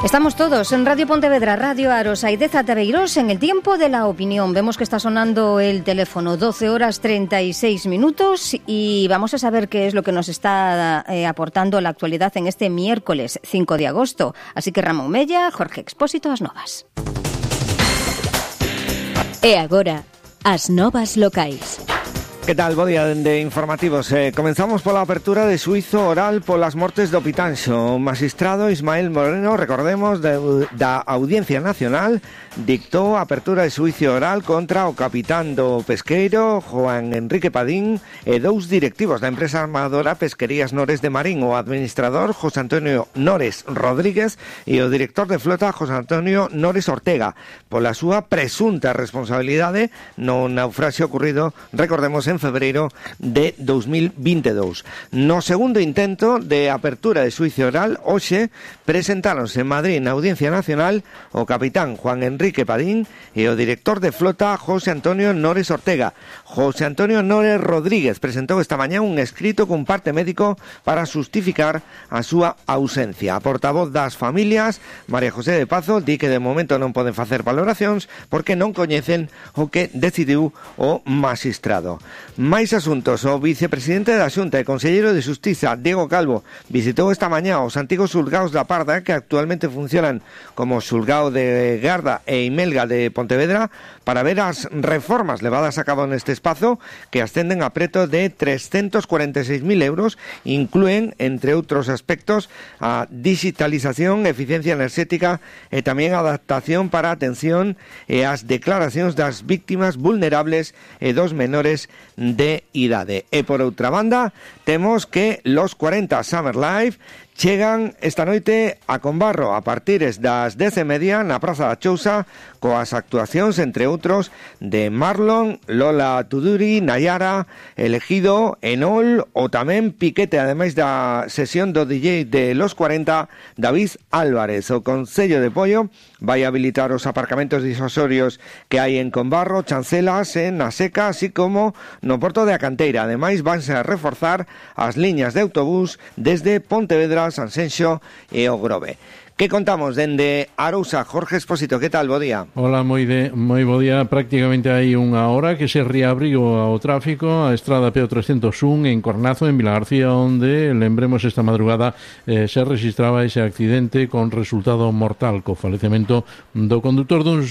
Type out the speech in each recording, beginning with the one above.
Estamos todos en Radio Pontevedra, Radio Aros, Aideza Tabeirós, en el tiempo de la opinión. Vemos que está sonando el teléfono, 12 horas 36 minutos, y vamos a saber qué es lo que nos está aportando la actualidad en este miércoles 5 de agosto. Así que Ramón Mella, Jorge Expósito, as novas. E agora, as novas locais. Que tal? Bo día de informativos. Comenzamos pola apertura de xuízo oral polas mortes do Pitanxo. O magistrado Ismael Moreno, recordemos, da Audiencia Nacional, dictou a apertura de xuízo oral contra o capitán do pesqueiro, Juan Enrique Padín, e dous directivos da empresa armadora Pesquerías Nores de Marín, o administrador José Antonio Nores Rodríguez e o director de flota José Antonio Nores Ortega, pola súa presunta responsabilidade no naufraxio ocurrido, recordemos, en febreiro de 2022. No segundo intento de apertura de xuízo oral, hoxe presentáronse en Madrid na Audiencia Nacional o capitán Juan Enrique Padín e o director de flota José Antonio Nores Ortega. José Antonio Nores Rodríguez presentou esta mañá un escrito cun parte médico para justificar a súa ausencia. A portavoz das familias, María José de Pazo, di que de momento non poden facer valoracións porque non coñecen o que decidiu o magistrado. Máis asuntos. O vicepresidente da Xunta e conselleiro de Xustiza, Diego Calvo, visitou esta mañá os antigos xulgaos da Parda, que actualmente funcionan como xulgao de Garda e Imelga de Pontevedra, para ver as reformas levadas a cabo neste espazo, que ascenden a preto de 346.000 euros, incluen, entre outros aspectos, a digitalización, eficiencia enerxética e tamén a adaptación para a atención e as declaracións das víctimas vulnerables e dos menores de idade. E por outra banda, temos que los 40 Summer Live chegan esta noite a Combarro a partires das 10:30 na Praza da Chousa, coas actuacións, entre outros, de Marlon, Lola Tuduri, Nayara, Elegido, Enol ou tamén Piquete, ademais da sesión do DJ de los 40, David Álvarez. O Concello de Pollo vai habilitar os aparcamentos disuasorios que hai en Combarro, Chancelas, en Na Seca, así como no Porto de a Canteira. Ademais, vanse a reforzar as liñas de autobús desde Pontevedra, Sanxenxo e o Grove. Que contamos dende Arousa? Jorge Expósito, que tal? Bo día. Hola, moi bo día. Prácticamente hai unha hora que se reabriu ao tráfico a estrada PO 301 en Cornazo, en Vilagarcía, onde, lembremos, esta madrugada se registraba ese accidente con resultado mortal, co falecemento do condutor dun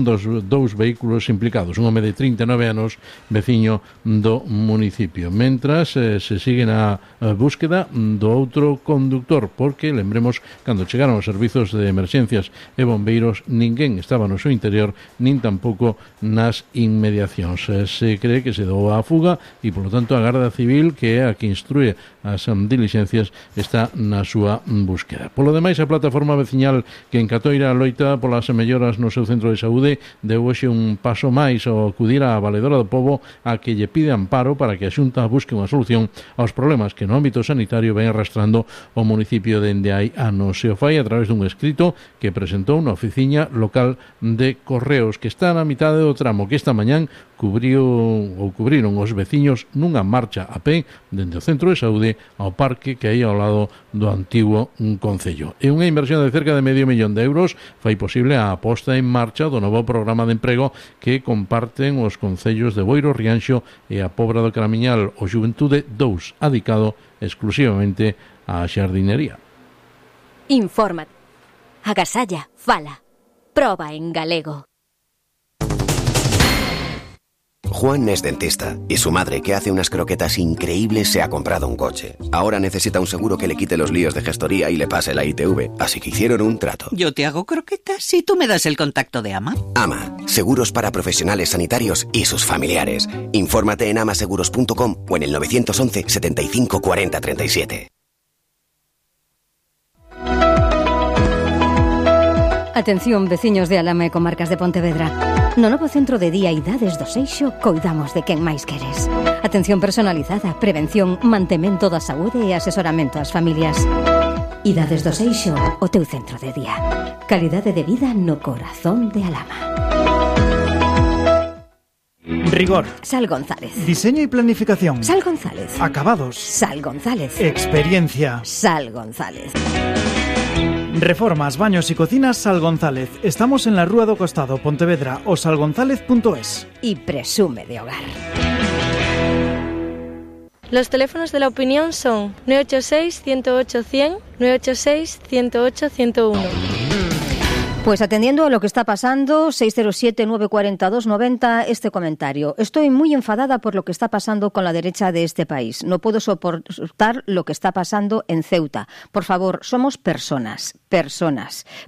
dos dous vehículos implicados, un home de 39 anos, veciño do municipio. Mentras, se sigue na búsqueda do outro conductor, porque, lembremos, cando chegaron os servizos de emerxencias e bombeiros, ninguén estaba no seu interior, nin tampouco nas inmediacións. Se cree que se dou a fuga e, polo tanto, a Garda Civil, que é a que instrúe as diligencias, está na súa búsqueda. Polo demais, a plataforma veciñal que en Catoira loita polas melloras no seu centro de saúde deu hoxe un paso máis ao acudir á Valedora do Pobo a que lle pide amparo para que a Xunta busque unha solución aos problemas que no ámbito sanitario ven arrastrando o municipio dende hai anos. Se o fai a través dun escrito que presentou na oficina local de Correos, que está na mitade do tramo que esta mañán cubriron os veciños nunha marcha a pé dende o centro de saúde ao parque que hai ao lado do antigo concello. E unha inversión de cerca de €500.000 fai posible a posta en marcha do novo programa de emprego que comparten os concellos de Boiro, Rianxo e a Pobra do Caramiñal, o Xuventude 2, adicado exclusivamente á xardinería. Infórmate. Agasalla, fala. Proba en galego. Juan es dentista y su madre, que hace unas croquetas increíbles, se ha comprado un coche. Ahora necesita un seguro que le quite los líos de gestoría y le pase la ITV, así que hicieron un trato. Yo te hago croquetas y tú me das el contacto de AMA. AMA, seguros para profesionales sanitarios y sus familiares. Infórmate en amaseguros.com o en el 911 75 40 37. Atención, veciños de Alama e comarcas de Pontevedra. No novo centro de día Idades do Seixo coidamos de quen máis queres. Atención personalizada, prevención, mantemento da saúde e asesoramento ás familias. Idades do Seixo, o teu centro de día. Calidade de vida no corazón de Alama. Rigor. Sal González. Diseño y planificación. Sal González. Acabados. Sal González. Experiencia. Sal González. Reformas, baños y cocinas Sal González. Estamos en la Rúa do Costado, Pontevedra, o salgonzalez.es. Y presume de hogar. Los teléfonos de la opinión son 986-108-100, 986-108-101. Pues atendiendo a lo que está pasando, 607-942-90, este comentario. Estoy muy enfadada por lo que está pasando con la derecha de este país. No puedo soportar lo que está pasando en Ceuta. Por favor, somos personas.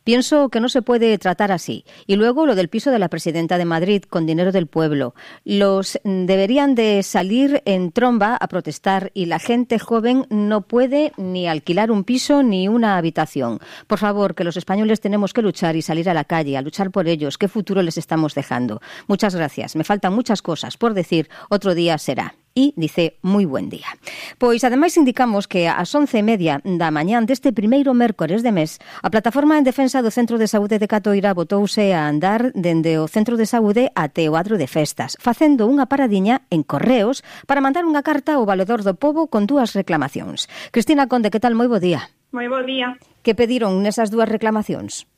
Pienso que no se puede tratar así. Y luego lo del piso de la presidenta de Madrid con dinero del pueblo. Los deberían de salir en tromba a protestar y la gente joven no puede ni alquilar un piso ni una habitación. Por favor, que los españoles tenemos que luchar y salir a la calle, a luchar por ellos. ¿Qué futuro les estamos dejando? Muchas gracias. Me faltan muchas cosas por decir. Otro día será. E dice moi buen día. Pois ademais indicamos que ás 11:30 da mañán deste primeiro mércores de mes a Plataforma en Defensa do Centro de Saúde de Catoira botouse a andar dende o Centro de Saúde até o Adro de Festas, facendo unha paradiña en Correos para mandar unha carta ao Valedor do Pobo con 2 reclamacións. Cristina Conde, que tal? Moi bo día. Moi bo día. Que pediron nesas 2 reclamacións?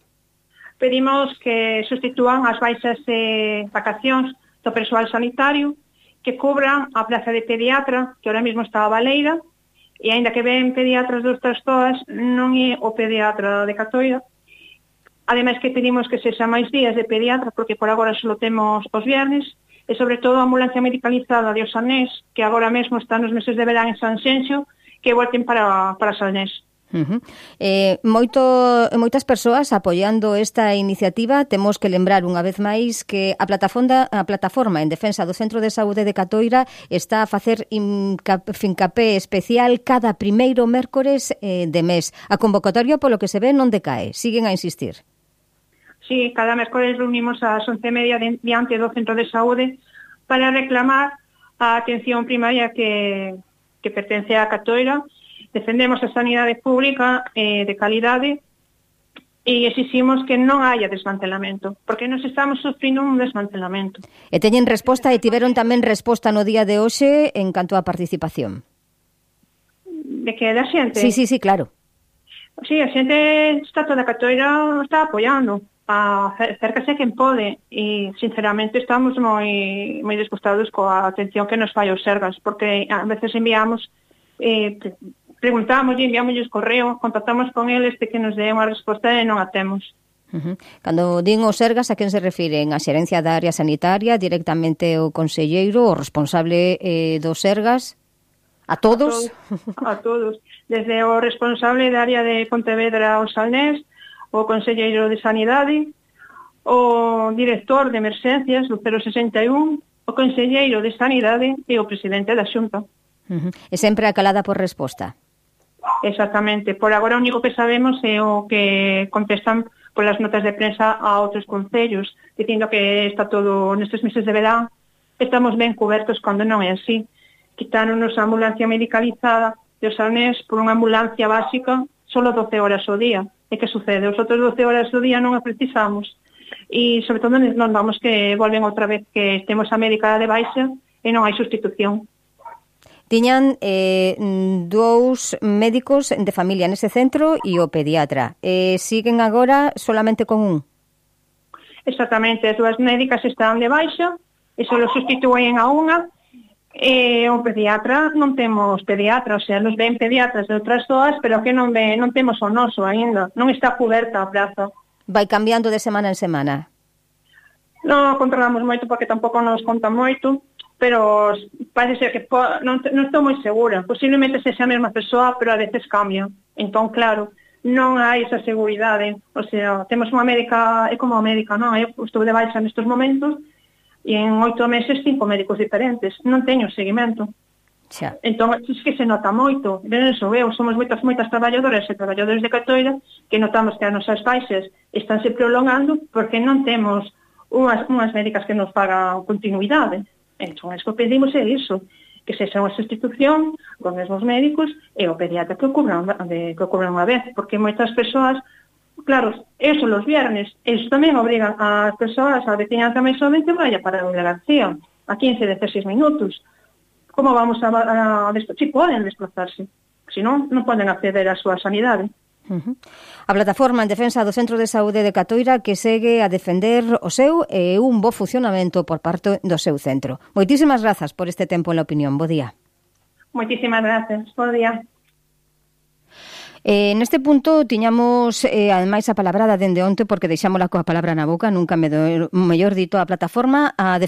Pedimos que sustitúan as baixas de vacacións do persoal sanitario, que cubran a plaza de pediatra, que ahora mismo está a baleira, e aínda que ven pediatras de outras zonas, non é o pediatra de Catoira. Ademais que pedimos que sexa máis días de pediatra, porque por agora só temos os viernes, e sobre todo a ambulancia medicalizada de Osanés, que agora mesmo está nos meses de verán en Sanxenxo, que volten para Sanés. Moitas persoas apoiando esta iniciativa. Temos que lembrar unha vez máis que a plataforma en defensa do Centro de Saúde de Catoira está a facer fincapé especial cada primeiro mércores de mes. A convocatoria, polo que se ve, non decae. Siguen a insistir. Sí, cada mércores reunimos ás 11:30 diante do Centro de Saúde para reclamar a atención primaria que pertence a Catoira. Defendemos a sanidade pública de calidade e exiximos que non haya desmantelamento, porque nos estamos sufrindo un desmantelamento. E teñen resposta e tiveron tamén resposta no día de hoxe en canto á participación. De que da xente? Sí, claro. Sí, a xente está toda a Catoira está apoiando, acércase quen pode e sinceramente estamos moi disgustados coa atención que nos fai os Sergas, porque a veces enviamos preguntamos e enviámosles correo, contactamos con eles de que nos den unha resposta e non a temos. Cando din os Sergas, a quen se refiren? A xerencia da área sanitaria, directamente o conselleiro, o responsable dos Sergas? A todos? A todos. Desde o responsable da área de Pontevedra o Salnés, o conselleiro de Sanidade, o director de emerxencias do 061, o conselleiro de Sanidade e o presidente da Xunta. E sempre acalada por resposta. Exactamente. Por agora o único que sabemos é o que contestan polas notas de prensa a outros concellos, dicindo que está todo nestes meses de verán, estamos ben cubertos cando non é así. Quitáronos a ambulancia medicalizada de Osanés por unha ambulancia básica solo 12 horas ao día. E que sucede? Os outros 12 horas ao día non a precisamos. E sobre todo non vamos que volven outra vez que temos a médica de baixa e non hai sustitución. Tiñan 2 médicos de familia nese centro e o pediatra. Siguen agora solamente con un? Exactamente, as 2 médicas están de baixa e só sustituen a unha. E o pediatra, non temos pediatra, o sea, nos ven pediatras de outras zonas, pero que non temos o noso aínda, non está cuberta a praza. Vai cambiando de semana en semana? Non controlamos moito porque tampouco nos conta moito, pero parece ser que non estou moi segura. Posiblemente sexa a mesma persoa, pero a veces cambia. Entón, claro, non hai esa seguridade. O sea, temos unha médica, é como a médica, non? Eu estou de baixa nestes momentos e en 8 meses 5 médicos diferentes. Non teño seguimento. Xa. Entón, é que se nota moito. Ben, eso veo, somos moitas traballadoras e traballadores de Catoira que notamos que as nosas baixas estánse prolongando porque non temos unhas médicas que nos fagan continuidade. Entón, que pedimos é iso, que sexa unha sustitución con os mesmos médicos e o pediatra que o cubran unha vez, porque moitas persoas, claro, eso los viernes, eso tamén obrigan ás persoas, a veciñanza máis somente vaya para a delegación, a 15-16 minutos. Como vamos si poden desplazarse, se non poden acceder á súa sanidade. A plataforma en defensa do Centro de Saúde de Catoira que segue a defender o seu e un bo funcionamento por parte do seu centro. Moitísimas grazas por este tempo en La Opinión. Bo día. Moitísimas gracias. Bo día. Neste punto tiñamos ademais a palabrada dende onte porque deixámola coa palabra na boca, nunca me do mellor dito a plataforma a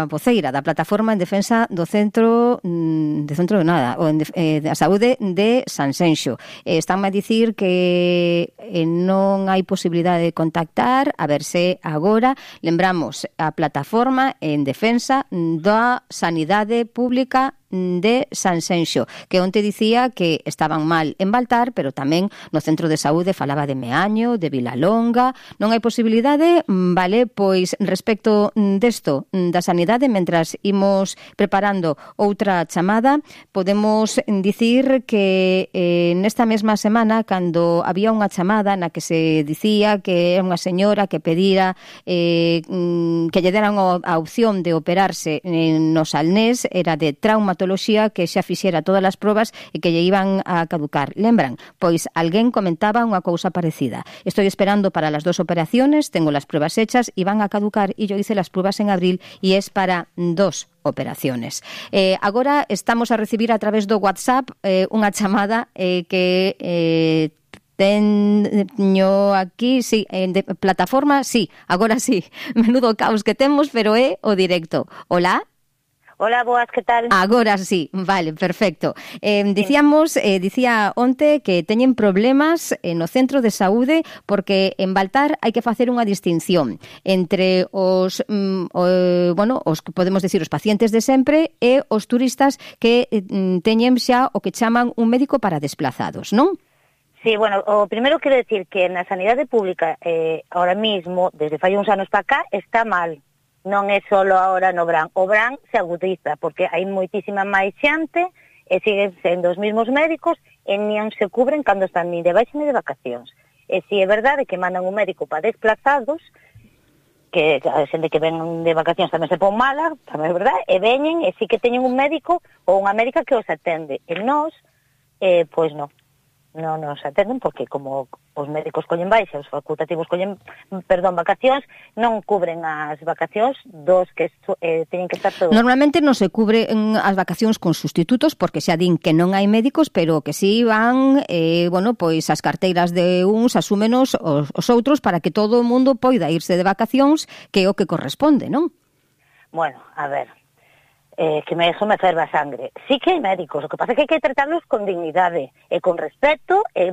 voceira da plataforma en defensa do centro de nada, ou da saúde de Sanxenxo. Estánme a dicir que non hai posibilidade de contactar, a ver se agora lembramos a plataforma en defensa da sanidade pública de Sanxenxo, que onte dicía que estaban mal en Baltar, pero tamén no centro de saúde falaba de Meaño, de Vilalonga. Non hai posibilidade, vale, pois respecto desto da sanidade, mentras imos preparando outra chamada, podemos dicir que nesta mesma semana, cando había unha chamada na que se dicía que era unha señora que pedira que lle deran a opción de operarse no Salnés, era de traumatología, que xa fixera todas as probas e que lle iban a caducar. Lembran? Pois alguén comentaba unha cousa parecida. Estoy esperando para las 2 operaciones, tengo las pruebas hechas y van a caducar y yo hice las pruebas en abril y es para 2 operaciones. Agora estamos a recibir a través do WhatsApp unha chamada que teño aquí, sí, de plataforma, sí, agora sí. Menudo caos que temos, pero é o directo. Hola. Hola, boas, que tal? Agora sí, vale, perfecto. Dicía onte que teñen problemas no centro de saúde porque en Baltar hai que facer unha distinción entre os que podemos decir os pacientes de sempre e os turistas que teñen xa o que chaman un médico para desplazados, non? Sí, bueno, o primeiro quero decir que na sanidade pública ahora mismo, desde fai uns anos para cá, está mal. Non é solo ahora no verán. O verán se agudiza, porque hai moitísima máis xente e siguen sendo os mesmos médicos e non se cubren cando están ni de baixa ni de vacacións. E si é verdade que mandan un médico para desplazados, que a xente que ven de vacacións tamén se pon mala, tamén é verdade, e veñen e si que teñen un médico ou unha médica que os atende. E nós, pois non nos atenden porque como os médicos collen baixa, os facultativos collen, vacacións, non cubren as vacacións dos que teñen que estar todos. Normalmente non se cubren as vacacións con sustitutos porque xa din que non hai médicos, pero que si van, pois as carteiras de uns asúmenos os outros para que todo o mundo poida irse de vacacións, que é o que corresponde, non? Bueno, a ver, que eso me ferva a sangre. Sí que hai médicos, o que pasa é que hai que tratarlos con dignidade e con respeto e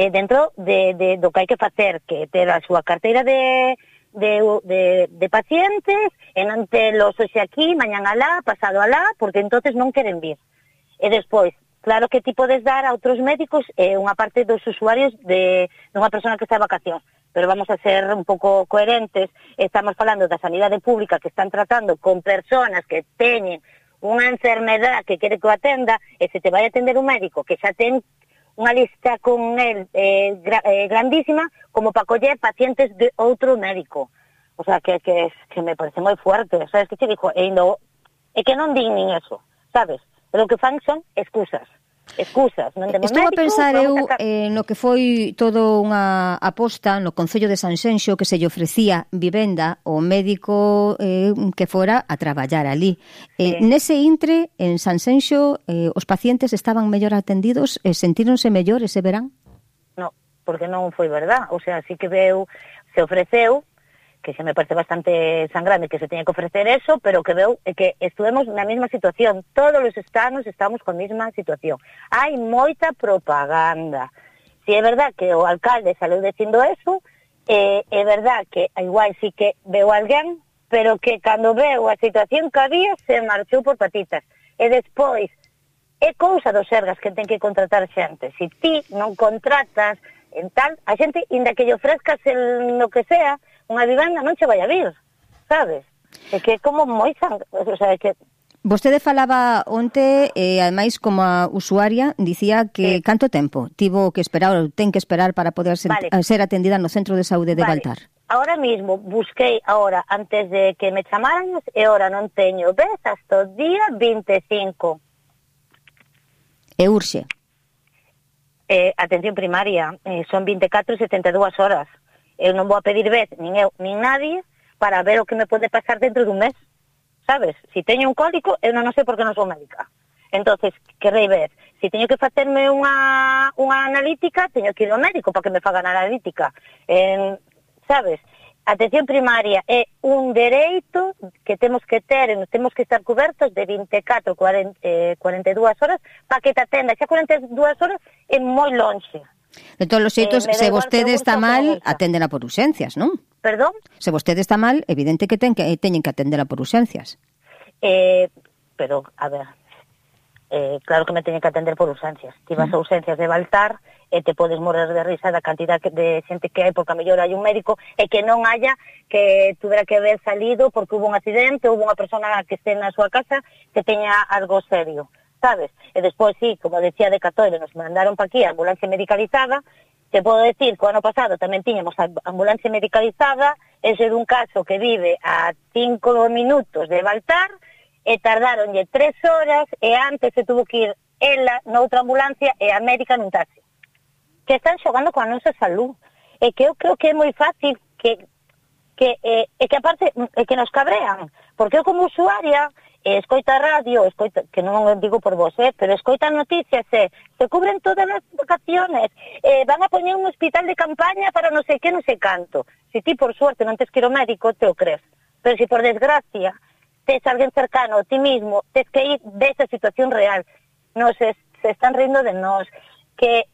dentro do que hai que facer, que ter a súa carteira de pacientes e non telos hoxe aquí, mañán alá, pasado alá, porque entonces non queren vir. E despois, claro que ti podes dar a outros médicos unha parte dos usuarios de unha persona que está de vacacións, pero vamos a ser un pouco coherentes. Estamos falando da sanidade pública que están tratando con personas que teñen unha enfermedad que quere que o atenda e se te vai a atender un médico que xa ten unha lista con el grandísima como para coller pacientes de outro médico. O sea, que me parece moi fuerte. Sabes que te dijo? É que non din nin eso, sabes? Lo que fan son excusas, non temos Estou médicos. a pensar eu no que foi todo unha aposta no Concello de Sanxenxo que se lle ofrecía vivenda ao médico que fora a traballar ali. Nese intre, en Sanxenxo, os pacientes estaban mellor atendidos e sentíronse mellor ese verán? No, porque non foi verdad. O sea, sí que se ofreceu, que se me parece bastante sangrante que se teña que ofrecer eso, pero que veu que estuvemos na mesma situación. Todos os estanos estamos con a mesma situación. Hai moita propaganda. Si é verdad que o alcalde saleu dicindo eso, é verdad que igual sí que veu alguén, pero que cando veu a situación que había se marchou por patitas. E despois, é cousa dos Sergas que ten que contratar xente. Si ti non contratas en tal, a xente, inda que lle ofrezcas no que sea, unha vivenda non che vai a vir, sabes? É que é como moi o sea, é que... Vostede falaba onte, ademais como a usuaria, dicía que canto tempo tivo que esperar ou ten que esperar para poder ser atendida no centro de saúde de Baltar? Ahora mismo busquei antes de que me chamaran e ahora non teño, ves, hasta o día 25. E urxe? Atención primaria, son 24 e 72 horas. Eu non vou a pedir vez, nin eu, nin nadie, para ver o que me pode pasar dentro dun mes, sabes? Si teño un cólico, eu non sei por que non sou médica. Entonces, querrei ver, si teño que facerme unha analítica, teño que ir ao médico para que me fagan a analítica. Sabes? Atención primaria é un dereito que temos que ter, temos que estar cobertos de 24, 42 horas para que te atenda. Xa 42 horas é moi lonxe. De todos os xeitos, se vostede está mal, aténdela por urxencias, non? Perdón? Se vostede está mal, evidente que teñen que atendela por urxencias. Pero, a ver, claro que me teñen que atender por urxencias. Ti vas a urxencias de Baltar e te podes morrer de risa da cantidad de xente que hai, porque a mellor hai un médico e que non haya, que tuvera que haber salido porque hubo un accidente, hubo unha persona que este na súa casa que teña algo serio, sabes? E despois, sí, como decía de Catoira, nos mandaron pa aquí a ambulancia medicalizada. Te podo decir que o ano pasado tamén tiñamos a ambulancia medicalizada, ese é un caso que vive a 5 minutos de Baltar, e tardaronlle 3 horas, e antes se tuvo que ir ela noutra ambulancia e a médica nun taxi. Que están xogando coa nosa salud. E que eu creo que é moi fácil que aparte que nos cabrean, porque eu como usuaria escoita radio, que non digo por vos, pero escoita noticias, se cubren todas as vacaciones, van a poñer un hospital de campaña para non sei que, non sei canto. Si ti por suerte non tes que ir ao médico, te o crees. Pero si por desgracia tes alguén cercano a ti mismo, tes que ir desa situación real. Se están rindo de nós, que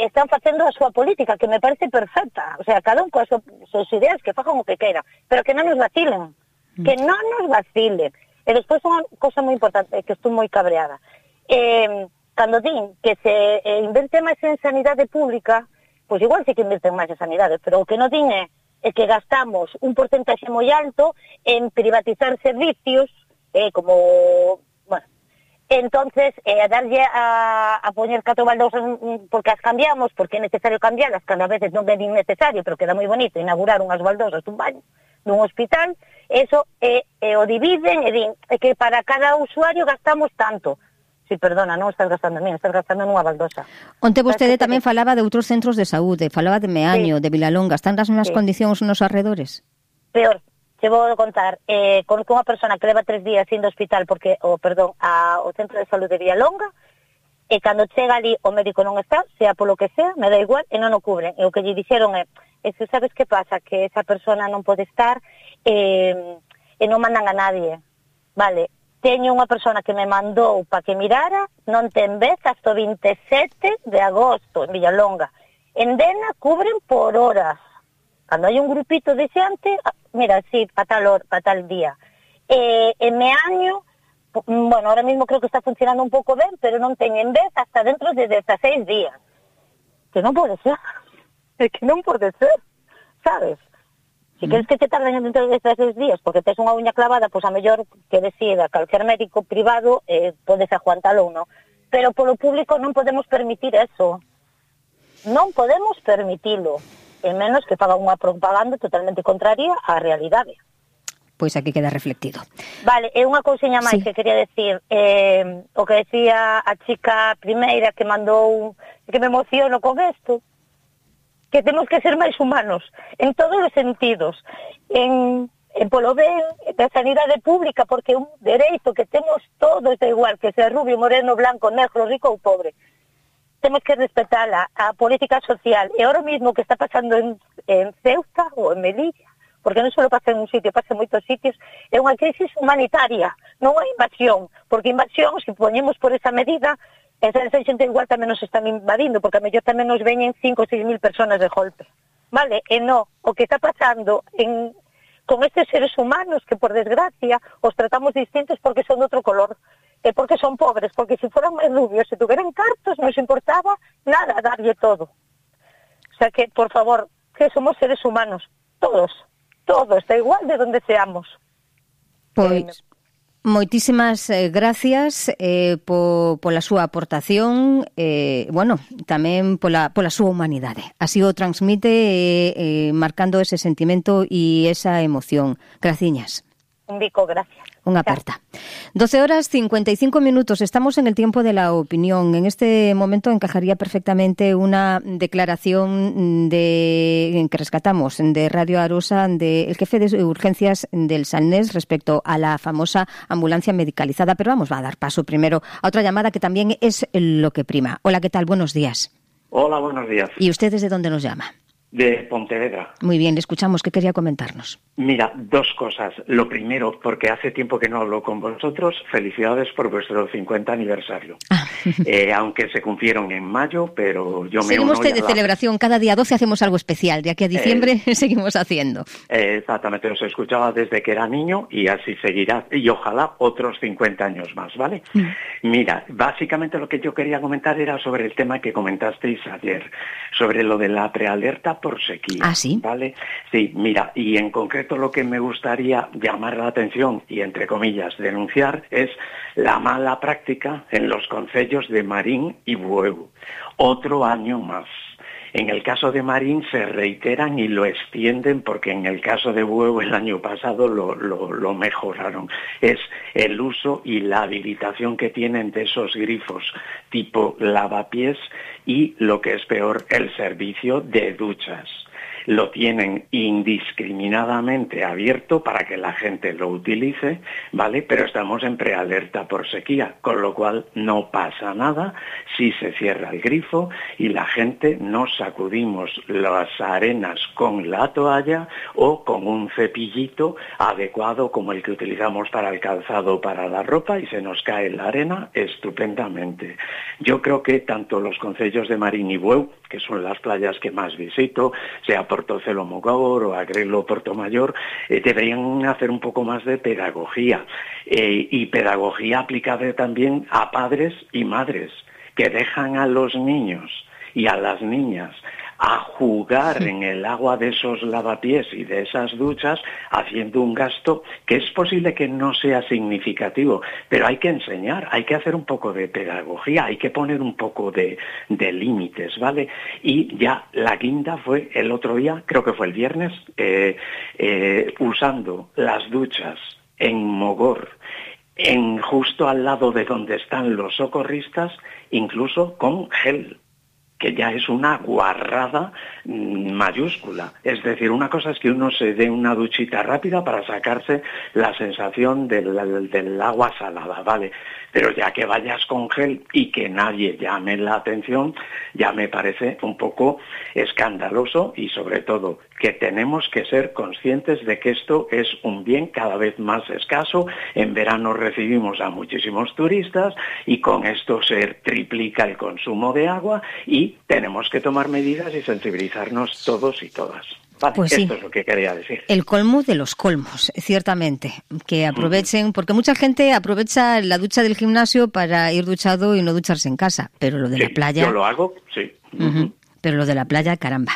están facendo a súa política, que me parece perfecta. O sea, cada un coas súas ideas, que fajan o que queira, pero que non nos vacilen. Que non nos vacilen. E despois unha cosa moi importante, que estou moi cabreada. Cando din que se inverte máis en sanidade pública, pois igual sí que inverten máis en sanidade, pero o que non din é que gastamos un porcentaxe moi alto en privatizar servicios, como... Entonces, a darlle a poñer 4 baldosas porque as cambiamos, porque é necesario cambiarlas, cada vez non é nin necesario, pero queda moi bonito inaugurar unhas baldosas dun baño, dun hospital, eso o dividen e din que para cada usuario gastamos tanto. Si, perdona, non estás gastando en mí, estás gastando nunha baldosa. Onte vostede tamén falaba de outros centros de saúde, falaba de Meaño, de Vilalonga, están nas mesmas condicións nos arredores? Peor. Te vou contar, con unha persona que leva 3 días indo ao hospital porque, ao centro de saúde de Vilalonga, e cando chega ali o médico non está, sea polo que sea, me dá igual, e non o cubren. E o que lle dixeron é que sabes que pasa, que esa persona non pode estar e non mandan a nadie. Vale, teño unha persona que me mandou para que mirara, non ten vez hasta o 27 de agosto en Vilalonga. En Dena cubren por horas. Cando hai un grupito de xente, mira, sí, para tal día. En Meaño, bueno, ahora mismo creo que está funcionando un pouco ben, pero non teñen vez hasta dentro de 16 días. Que non pode ser. É que non pode ser, sabes? Si queres que te tarden dentro de 16 días, porque tes unha uña clavada, pois a mellor que decida calquer médico privado, podes aguantalo ou non. Pero polo público non podemos permitir eso. Non podemos permitilo. E menos que faga unha propaganda totalmente contraria á realidade. Pois aquí queda reflectido. Vale, e unha cousiña máis que quería decir, o que decía a chica primeira que mandou, que me emociono con isto, que temos que ser máis humanos, en todos os sentidos, en polo ben da sanidade pública, porque é un dereito que temos todos, da igual, que sea rubio, moreno, blanco, negro, rico ou pobre. Temos que respetala, a política social. E ahora mismo que está pasando en Ceuta ou en Melilla, porque non só pasa en un sitio, pasa en moitos sitios, é unha crisis humanitaria, non é invasión, porque invasión, se poñemos por esa medida, esa xente igual tamén nos están invadindo, porque a mellor tamén nos veñen 5 ou 6 mil personas de golpe. Vale? E non, o que está pasando con estes seres humanos que, por desgracia, os tratamos distintos porque son de outro color, porque son pobres, porque se fueran máis rubios, se tuveran cartos, non se importaba nada darlle todo. O sea que, por favor, que somos seres humanos, todos, da igual de donde seamos. Pois, moitísimas gracias pola súa aportación, bueno, tamén pola súa humanidade. Así o transmite marcando ese sentimento e esa emoción. Graciñas. Un bico, gracias. Unha aperta. 12 horas 55 minutos. Estamos en el tiempo de la opinión. En este momento encajaría perfectamente una declaración que rescatamos de Radio Arosa del jefe de urgencias del Salnés respecto a la famosa ambulancia medicalizada. Pero vamos a dar paso primero a otra llamada que también es lo que prima. Hola, ¿qué tal? Buenos días. Hola, buenos días. ¿Y usted desde dónde nos llama? De Pontevedra. Muy bien, le escuchamos. ¿Qué quería comentarnos? Mira, dos cosas. Lo primero, porque hace tiempo que no hablo con vosotros, felicidades por vuestro 50 aniversario. Aunque se cumplieron en mayo, pero yo me seguimos de celebración. Cada día 12 hacemos algo especial. De aquí a diciembre seguimos haciendo. Exactamente, os escuchaba desde que era niño y así seguirá. Y ojalá otros 50 años más, ¿vale? Mira, básicamente lo que yo quería comentar era sobre el tema que comentasteis ayer, sobre lo de la prealerta por sequía. ¿Ah, sí? ¿Vale? Sí, mira, y en concreto lo que me gustaría llamar la atención y, entre comillas, denunciar es la mala práctica en los concellos de Marín y Bueu. Otro año más. En el caso de Marín se reiteran y lo extienden porque en el caso de Bueu el año pasado lo mejoraron. Es el uso y la habilitación que tienen de esos grifos tipo lavapiés y, lo que es peor, el servicio de duchas. Lo tienen indiscriminadamente abierto para que la gente lo utilice, ¿vale? Pero estamos en prealerta por sequía, con lo cual no pasa nada si se cierra el grifo y la gente nos sacudimos las arenas con la toalla o con un cepillito adecuado como el que utilizamos para el calzado o para la ropa y se nos cae la arena estupendamente. Yo creo que tanto los concellos de Marín y Bueu, que son las playas que más visito, sea Portocelo Mogor o Agrelo Portomayor, deberían hacer un poco más de pedagogía y pedagogía aplicable también a padres y madres que dejan a los niños y a las niñas a jugar en el agua de esos lavapiés y de esas duchas, haciendo un gasto que es posible que no sea significativo, pero hay que enseñar, hay que hacer un poco de pedagogía, hay que poner un poco de límites, ¿vale? Y ya la guinda fue el otro día, creo que fue el viernes, usando las duchas en Mogor, justo al lado de donde están los socorristas, incluso con gel, que ya es una guarrada mayúscula. Es decir, una cosa es que uno se dé una duchita rápida para sacarse la sensación del agua salada, ¿vale? Pero ya que vayas con gel y que nadie llame la atención, ya me parece un poco escandaloso y, sobre todo, que tenemos que ser conscientes de que esto es un bien cada vez más escaso. En verano recibimos a muchísimos turistas y con esto se triplica el consumo de agua y tenemos que tomar medidas y sensibilizarnos todos y todas. Vale, pues sí, esto es lo que quería decir. El colmo de los colmos, ciertamente. Que aprovechen, porque mucha gente aprovecha la ducha del gimnasio para ir duchado y no ducharse en casa. Pero lo de la playa... Yo lo hago, sí. Pero lo de la playa, caramba.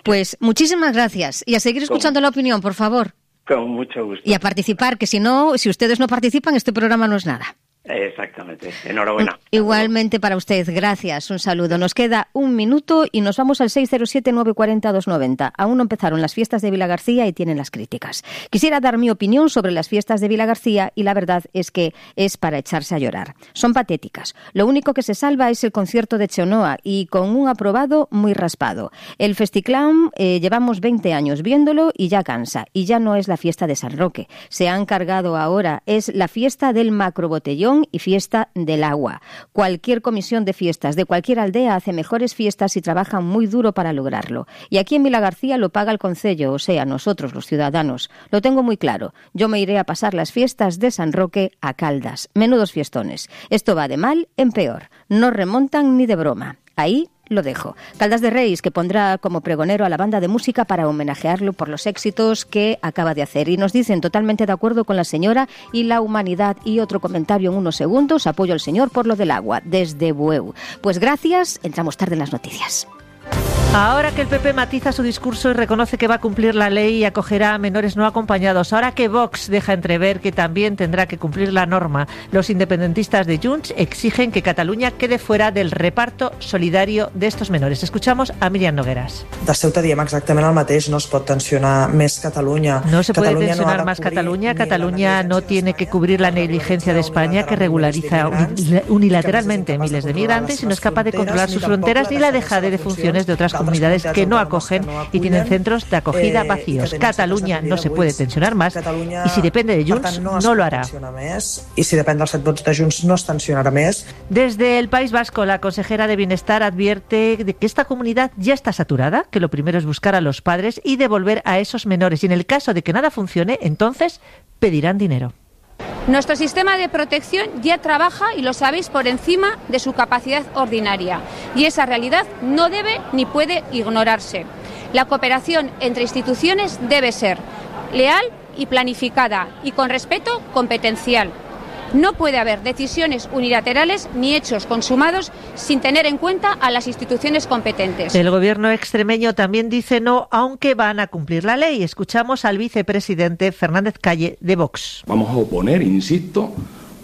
Pues muchísimas gracias. Y a seguir escuchando la opinión, por favor. Con mucho gusto. Y a participar, que si ustedes no participan, este programa no es nada. Exactamente. Enhorabuena. Igualmente para usted. Gracias. Un saludo. Nos queda un minuto y nos vamos al 607-940-290. Aún no empezaron las fiestas de Vilagarcía y tienen las críticas. Quisiera dar mi opinión sobre las fiestas de Vilagarcía y la verdad es que es para echarse a llorar. Son patéticas. Lo único que se salva es el concierto de Cheonoa y con un aprobado muy raspado. El Festiclán llevamos 20 años viéndolo y ya cansa. Y ya no es la fiesta de San Roque. Se han cargado ahora. Es la fiesta del macrobotellón y fiesta del agua. Cualquier comisión de fiestas de cualquier aldea hace mejores fiestas y trabaja muy duro para lograrlo. Y aquí en Vilagarcía lo paga el concello, o sea, nosotros los ciudadanos. Lo tengo muy claro. Yo me iré a pasar las fiestas de San Roque a Caldas. Menudos fiestones. Esto va de mal en peor. No remontan ni de broma. Ahí lo dejo. Caldas de Reis, que pondrá como pregonero a la banda de música para homenajearlo por los éxitos que acaba de hacer. Y nos dicen totalmente de acuerdo con la señora y la humanidad. Y otro comentario en unos segundos. Apoyo al señor por lo del agua, desde Bueu. Pues gracias. Entramos tarde en las noticias. Ahora que el PP matiza su discurso y reconoce que va a cumplir la ley y acogerá a menores no acompañados, ahora que Vox deja entrever que también tendrá que cumplir la norma, los independentistas de Junts exigen que Cataluña quede fuera del reparto solidario de estos menores. Escuchamos a Míriam Nogueras. De Ceuta diem exactament el mateix, no es pot tensionar més Catalunya. No se puede tensionar más Cataluña. Cataluña no tiene que cubrir la negligencia de España, que regulariza unilateralmente miles de migrantes y no es capaz de controlar sus fronteras, ni la dejadez de funciones de otras comunidades que no acogen y tienen centros de acogida vacíos. Cataluña no se puede tensionar más y si depende de Junts no lo hará. Y si depende dels 7 vots de Junts no es tensionarà més. Desde el País Vasco, la consejera de Bienestar advierte de que esta comunidad ya está saturada, que lo primero es buscar a los padres y devolver a esos menores. Y en el caso de que nada funcione, entonces pedirán dinero. Nuestro sistema de protección ya trabaja, y lo sabéis, por encima de su capacidad ordinaria. Y esa realidad no debe ni puede ignorarse. La cooperación entre instituciones debe ser leal y planificada y con respeto competencial. No puede haber decisiones unilaterales ni hechos consumados sin tener en cuenta a las instituciones competentes. El gobierno extremeño también dice no, aunque van a cumplir la ley. Escuchamos al vicepresidente Fernández Calle de Vox. Vamos a oponer, insisto,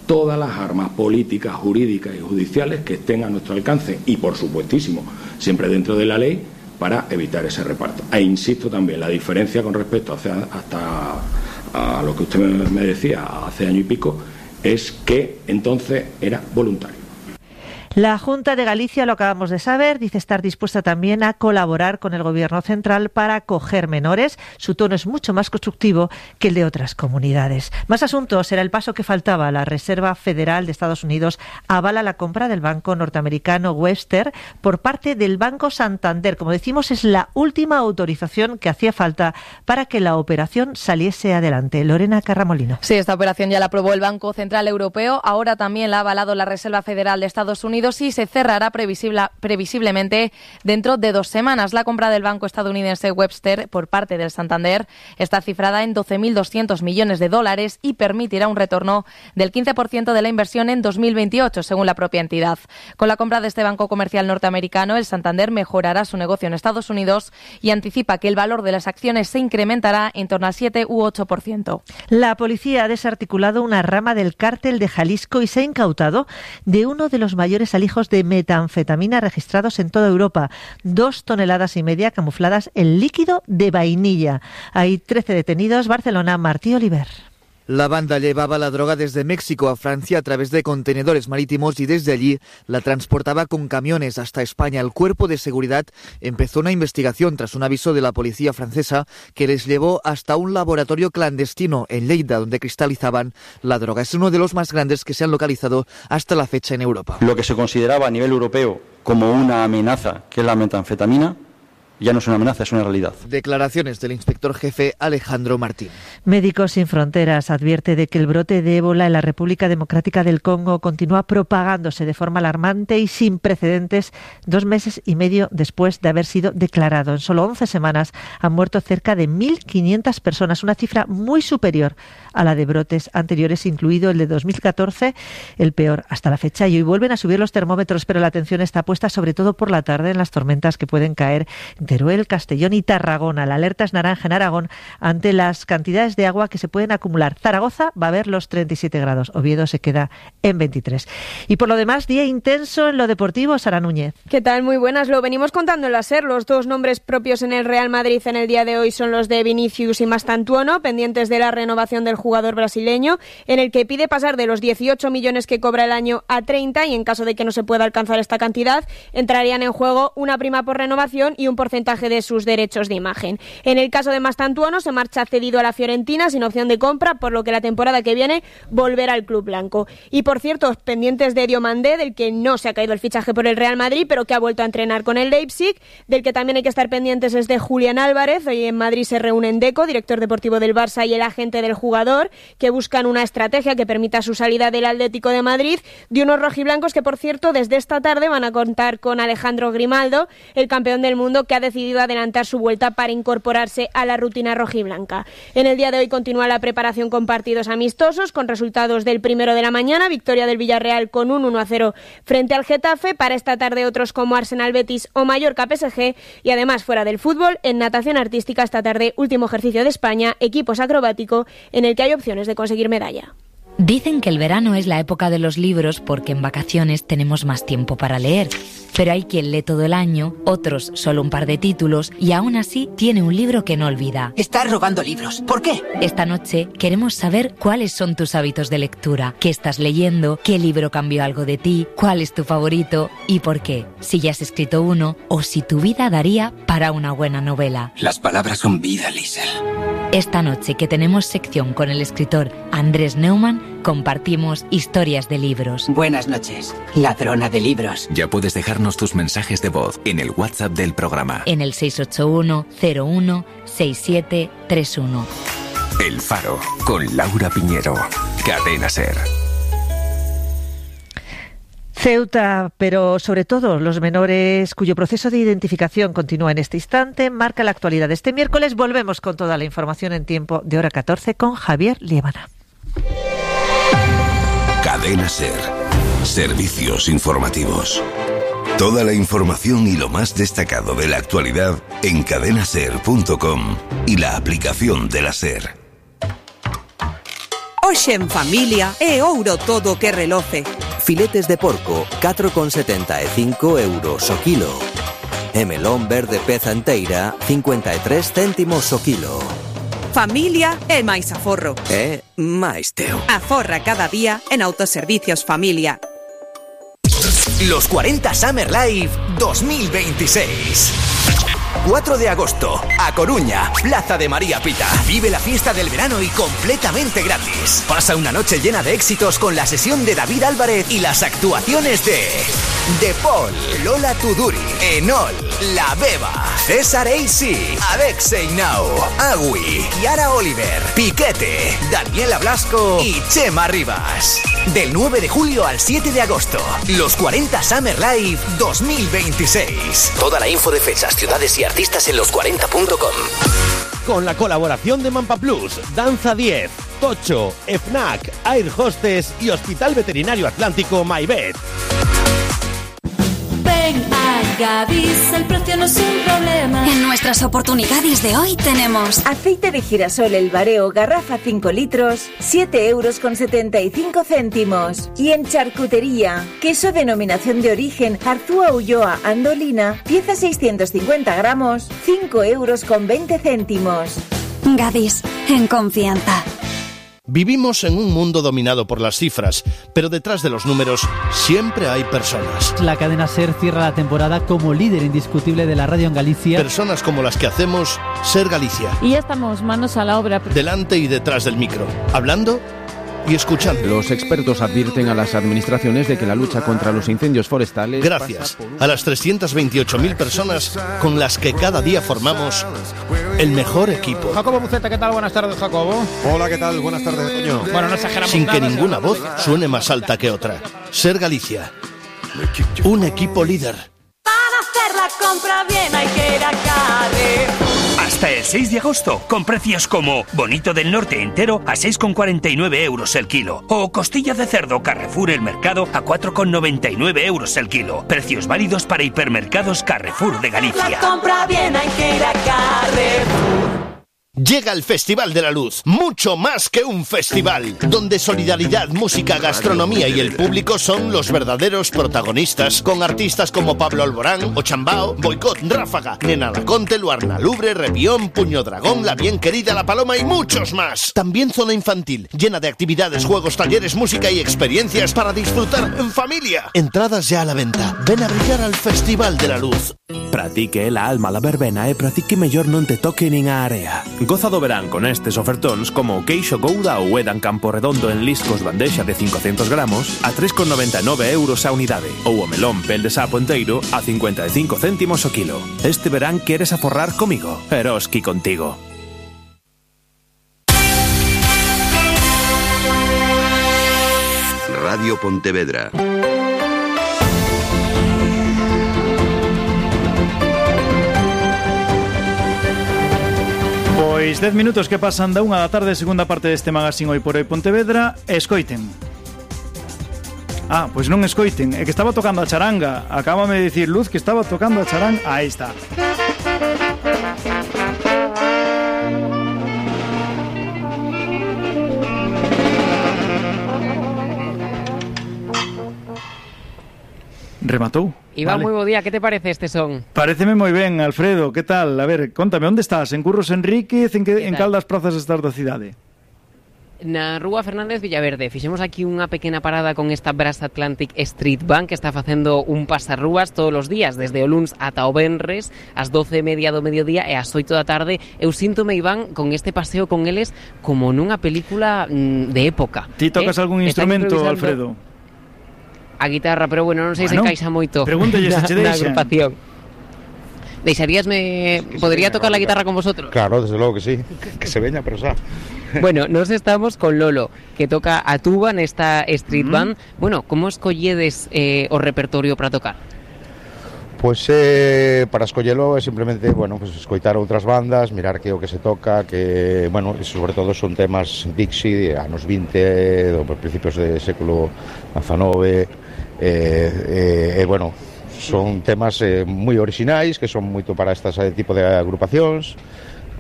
todas las armas políticas, jurídicas y judiciales que estén a nuestro alcance y, por supuestísimo, siempre dentro de la ley, para evitar ese reparto. E insisto también, la diferencia con respecto hasta a lo que usted me decía hace año y pico, es que entonces era voluntario. La Junta de Galicia, lo acabamos de saber, dice estar dispuesta también a colaborar con el Gobierno central para acoger menores. Su tono es mucho más constructivo que el de otras comunidades. Más asuntos. Era el paso que faltaba. La Reserva Federal de Estados Unidos avala la compra del banco norteamericano Webster por parte del Banco Santander. Como decimos, es la última autorización que hacía falta para que la operación saliese adelante. Lorena Carramolino. Sí, esta operación ya la aprobó el Banco Central Europeo. Ahora también la ha avalado la Reserva Federal de Estados Unidos y se cerrará previsiblemente dentro de 2 semanas. La compra del banco estadounidense Webster por parte del Santander está cifrada en $12.200 millones y permitirá un retorno del 15% de la inversión en 2028, según la propia entidad. Con la compra de este banco comercial norteamericano, el Santander mejorará su negocio en Estados Unidos y anticipa que el valor de las acciones se incrementará en torno al 7 u 8%. La policía ha desarticulado una rama del cártel de Jalisco y se ha incautado de uno de los mayores alijos de metanfetamina registrados en toda Europa, 2,5 toneladas camufladas en líquido de vainilla. Hay 13 detenidos. Barcelona, Martí Oliver. La banda llevaba la droga desde México a Francia a través de contenedores marítimos y desde allí la transportaba con camiones hasta España. El cuerpo de seguridad empezó una investigación tras un aviso de la policía francesa que les llevó hasta un laboratorio clandestino en Lleida, donde cristalizaban la droga. Es uno de los más grandes que se han localizado hasta la fecha en Europa. Lo que se consideraba a nivel europeo como una amenaza, que es la metanfetamina, ya no es una amenaza, es una realidad. Declaraciones del inspector jefe Alejandro Martín. Médicos Sin Fronteras advierte de que el brote de ébola en la República Democrática del Congo continúa propagándose de forma alarmante y sin precedentes 2 meses y medio después de haber sido declarado. En solo 11 semanas han muerto cerca de 1.500 personas, una cifra muy superior a la de brotes anteriores, incluido el de 2014, el peor hasta la fecha. Y hoy vuelven a subir los termómetros, pero la atención está puesta sobre todo por la tarde en las tormentas que pueden caer en Teruel, Castellón y Tarragona. La alerta es naranja en Aragón ante las cantidades de agua que se pueden acumular. Zaragoza va a ver los 37 grados. Oviedo se queda en 23. Y por lo demás, día intenso en lo deportivo. Sara Núñez. ¿Qué tal? Muy buenas. Lo venimos contando en la SER. Los 2 nombres propios en el Real Madrid en el día de hoy son los de Vinicius y Mastantuono, pendientes de la renovación del jugador brasileño, en el que pide pasar de los 18 millones que cobra el año a 30, y en caso de que no se pueda alcanzar esta cantidad, entrarían en juego una prima por renovación y un porcentaje de sus derechos de imagen. En el caso de Mastantuono, se marcha cedido a la Fiorentina sin opción de compra, por lo que la temporada que viene volverá al club blanco. Y por cierto, pendientes de Diomandé, del que no se ha caído el fichaje por el Real Madrid, pero que ha vuelto a entrenar con el Leipzig. Del que también hay que estar pendientes es de Julián Álvarez. Hoy en Madrid se reúnen Deco, director deportivo del Barça, y el agente del jugador, que buscan una estrategia que permita su salida del Atlético de Madrid, de unos rojiblancos que, por cierto, desde esta tarde van a contar con Alejandro Grimaldo, el campeón del mundo, que ha decidido adelantar su vuelta para incorporarse a la rutina rojiblanca. En el día de hoy continúa la preparación con partidos amistosos, con resultados del primero de la mañana, victoria del Villarreal con un 1-0 frente al Getafe. Para esta tarde otros como Arsenal Betis o Mallorca PSG, y además fuera del fútbol, en natación artística esta tarde último ejercicio de España, equipos acrobático, en el que hay opciones de conseguir medalla. Dicen que el verano es la época de los libros porque en vacaciones tenemos más tiempo para leer. Pero hay quien lee todo el año, otros solo un par de títulos y aún así tiene un libro que no olvida. Estás robando libros. ¿Por qué? Esta noche queremos saber cuáles son tus hábitos de lectura, qué estás leyendo, qué libro cambió algo de ti, cuál es tu favorito y por qué. Si ya has escrito uno o si tu vida daría para una buena novela. Las palabras son vida, Liesl. Esta noche que tenemos sección con el escritor Andrés Neumann, compartimos historias de libros. Buenas noches, ladrona de libros. Ya puedes dejarnos tus mensajes de voz en el WhatsApp del programa. En el 681 01 6731. El Faro, con Laura Piñero. Cadena SER. Ceuta, pero sobre todo los menores cuyo proceso de identificación continúa en este instante, marca la actualidad de este miércoles. Volvemos con toda la información en tiempo de hora 14 con Javier Liébana. Cadena SER. Servicios informativos. Toda la información y lo más destacado de la actualidad en cadenaser.com y la aplicación de la SER. Hoxe en familia é ouro todo que reloce. Filetes de porco, 4,75 euros o kilo. E melón verde peza enteira, 53 céntimos o kilo. Familia é máis aforro. É máis teu. Aforra cada día en Autoservicios Familia. Los 40 Summer Live 2026. 4 de agosto, A Coruña, Plaza de María Pita. Vive la fiesta del verano y completamente gratis. Pasa una noche llena de éxitos con la sesión de David Álvarez y las actuaciones de Paul, Lola Tuduri, Enol, La Beba, César Eisi, Alexei Nau, Agui, Yara Oliver, Piquete, Daniela Blasco y Chema Rivas. Del 9 de julio al 7 de agosto, los 40 Summer Live 2026. Toda la info de fechas, ciudades y artistas en los40.com. Con la colaboración de Mampa Plus, Danza 10, Tocho, FNAC, Air Hostess y Hospital Veterinario Atlántico MyVet. Ven a Gadis, el precio no es un problema. En nuestras oportunidades de hoy tenemos aceite de girasol El Bareo, garrafa 5 litros, 7,75 €. Y en charcutería, queso denominación de origen Arzúa Ulloa Andolina, pieza 650 gramos, 5,20 €. Gadis, en confianza. Vivimos en un mundo dominado por las cifras, pero detrás de los números siempre hay personas. La cadena SER cierra la temporada como líder indiscutible de la radio en Galicia. Personas como las que hacemos SER Galicia. Y ya estamos manos a la obra. Delante y detrás del micro, hablando y escuchando. Los expertos advierten a las administraciones de que la lucha contra los incendios forestales... Gracias a las 328.000 personas con las que cada día formamos el mejor equipo. Jacobo Buceta, ¿qué tal? Buenas tardes, Jacobo. Hola, ¿qué tal? Buenas tardes, Toño. Bueno, no exageramos Sin nada, que ninguna voz suene más alta que otra. SER Galicia. Un equipo líder. Para hacer la compra bien hay que ir a Carrefour. Hasta el 6 de agosto, con precios como bonito del norte entero a 6,49 € el kilo. O costilla de cerdo Carrefour El Mercado a 4,99 € el kilo. Precios válidos para hipermercados Carrefour de Galicia. La compra bien hay que ir a Carrefour. Llega el Festival de la Luz, mucho más que un festival, donde solidaridad, música, gastronomía y el público son los verdaderos protagonistas, con artistas como Pablo Alborán, Ochambao, Boicot, Ráfaga, Nena Laconte, Luarna Lubre, Rebión, Puño Dragón, La Bien Querida, La Paloma y muchos más. También zona infantil, llena de actividades, juegos, talleres, música y experiencias para disfrutar en familia. Entradas ya a la venta. Ven a brillar al Festival de la Luz. Pratique la alma la verbena e pratique mellor non te toque nin a area. Goza do verán con estes ofertóns como o queixo Gouda ou Edan Campo Redondo en liscos bandexa de 500 gramos a 3,99 € a unidade ou o melón pel de sapo enteiro a 55 céntimos o kilo. Este verán queres aforrar comigo, Eroski contigo. Radio Pontevedra. 6, 10 minutos que pasan da 1 da tarde, segunda parte deste magazín Hoy por Hoy Pontevedra. Escoiten. Pois non escoiten, é que estaba tocando a charanga. Acábame de dicir Luz que estaba tocando a charanga. Aí está. Rematou. Iván, moi bo día, que te parece este son? Paréceme moi ben, Alfredo, que tal? A ver, contame, onde estás? En Curros Enríquez, en cal das prazas estás da cidade? Na Rúa Fernández Villaverde. Fixemos aquí unha pequena parada con esta Brass Atlantic Street Band que está facendo un pasarrúas todos os días, desde o luns ata o venres, ás 12:30 do mediodía e ás 8 da tarde. Eu síntome, Iván, con este paseo con eles como nunha película de época. Ti tocas algún instrumento, Alfredo? A guitarra, pero bueno, non sei se encaixa moito pregúntelle se che deixa. Na agrupación. Deixaríasme... Podería tocar la guitarra con vosotros? Claro, desde logo que sí. Que se veña, pero xa. Bueno, nos estamos con Lolo, que toca a tuba nesta Street Band. Bueno, como escolledes o repertorio para tocar? Pois para escollelo é simplemente, bueno, pues escoitar outras bandas, mirar que o que se toca, que, bueno, sobre todo son temas Dixie, anos 20, do principios do século XIX, bueno, son temas moi orixinais, que son moito para este tipo de agrupacións.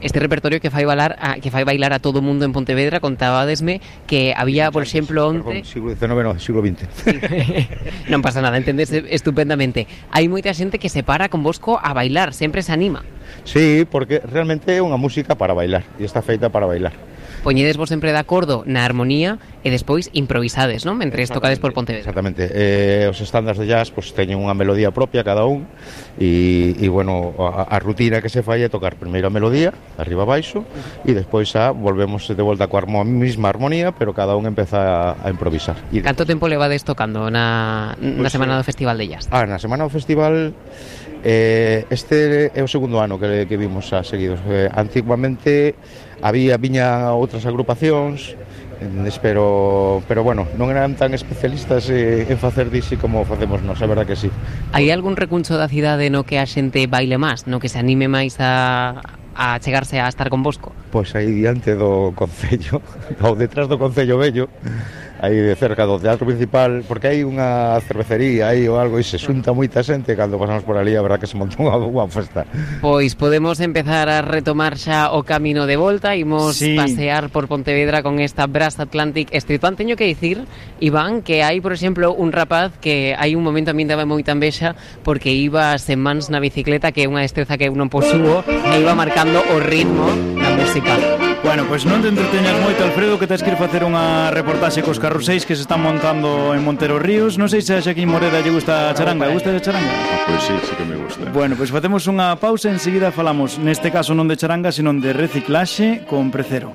Este repertorio que fai bailar a todo o mundo en Pontevedra. Contabadesme que había, por exemplo, onte... Siglo XIX, non, siglo XX. Non pasa nada, entendes estupendamente. Hai moita xente que se para con vosco a bailar, sempre se anima. Sí, porque realmente é unha música para bailar, e está feita para bailar. Poñedes vos sempre de acordo na armonía e despois improvisades, non? Mentre tocades por Pontevedra. Exactamente. Os estándares de jazz pues, teñen unha melodía propia cada un e bueno, a rutina que se fai é tocar primeiro a melodía, arriba abaixo, e despois volvemos de volta coa mesma armonía, pero cada un empeza a improvisar. Canto tempo levades tocando na semana do Festival de Jazz? Na semana do Festival... este é o segundo ano que vimos a seguidos. Antiguamente viña outras agrupacións, pero bueno, non eran tan especialistas en facer dixi como facemos nós, a verdad que sí. Hai algún recuncho da cidade no que a xente baile máis, no que se anime máis a chegarse a estar con vosco? Pois aí diante do Concello, ou detrás do Concello Vello, aí cerca do teatro principal, porque hai unha cervecería aí ou algo e se xunta moita xente cando pasamos por ali, a verdad que se montou unha festa. Pois podemos empezar a retomar xa o camino de volta, imos pasear por Pontevedra con esta Brass Atlantic Street Band. Teño que dicir, Iván, que hai, por exemplo, un rapaz que hai un momento a min daba moita envexa porque iba sen mans na bicicleta, que é unha destreza que eu non posúo, e iba marcando o ritmo da música. Bueno, pois non te entreteñas moito, Alfredo, que tens que ir facer unha reportaxe cos carruseis que se están montando en Montero Ríos. Non sei se a Xaquín Moreda lle gusta a charanga. Gusta a charanga? Pois sí que me gusta. Bueno, pois facemos unha pausa e enseguida falamos, neste caso non de charanga, sino de reciclaxe con Precero.